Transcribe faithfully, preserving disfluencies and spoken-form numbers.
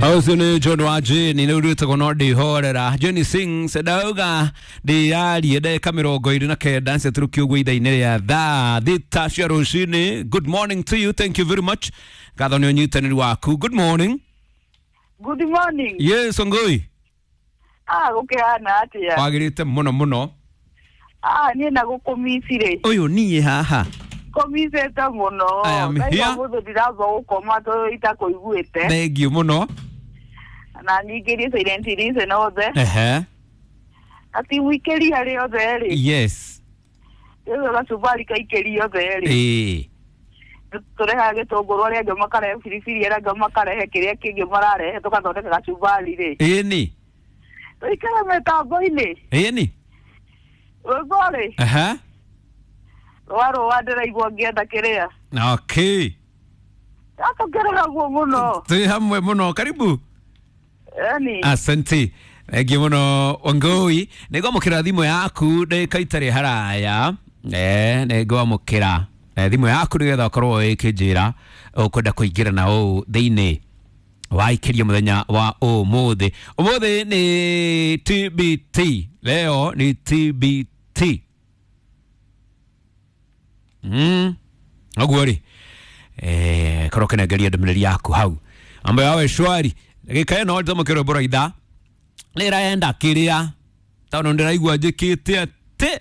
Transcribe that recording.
Ũcio nĩ John wa Jane nĩ ũrĩtagwo no ndĩhorera. Jane sings ndauga ndĩrarie ndagĩka mĩrongo ĩrĩ na kenda ciatũrũkio ũguo ithaa-inĩ rĩa thaa thita cia rũcinĩ. Good morning to you, thank you very much. Ngatho nĩ ũnyitanĩri waku. Good morning. Good morning. Yes, Ongoi. Ah, gũkĩhana atĩa? Wagĩrĩte mũno mũno. Ah, niĩ na gũkũmicirĩ. Ũyũ niĩ haha. Kũmicĩte mũno. I am Ndaigua here. mũthũ ndiramba gũkoma tondũ itakũiguĩte. Thank you mũno. Na nyingĩrie silent listen othe. Ehe. Ati mũikĩri harĩ othe rĩ. Yes. Rĩu gacumbari kaikĩri othe rĩ. Ĩĩ. Tũrehaga gĩtũngũrũ, arĩa angĩ makarehe biribiri, arĩa angĩ makarehe kĩrĩa kĩngĩ mararehe, tũgathondeka gacumbari rĩ. Ĩni. Tũikare mĩtambo-inĩ. Ĩni. Rwĩmbo rĩ. Ehe. Rwa rũa ndĩraigua ngĩenda kĩrĩa. Okay. Atũkeregaguo mũno. Twĩ hamwe mũno. Karibu. Eni. Asante. Thank you mũno Wangui. Nĩngwamũkĩra thimũ yaku ndagĩka itarĩ haraya. Eh, nĩngwamũkĩra eh, thimũ yaku nĩgetha ũkorwo ũkĩnjĩra ũkwenda kũingĩra na ũũ thĩinĩ wa ikĩria mũthenya wa ũmũthĩ. Ũmũthĩ nĩ T B T. Leo ni T B T. Mm. Ũguo rĩ eh, korwo ũkĩnengeria ndũmĩrĩri yaku hau mambo yawe shwari. Ndagĩka ĩno ndamũkĩra rwĩmbo rwa ithaa nĩraenda kĩrĩa tondũ ndĩraigua njĩkĩte atĩ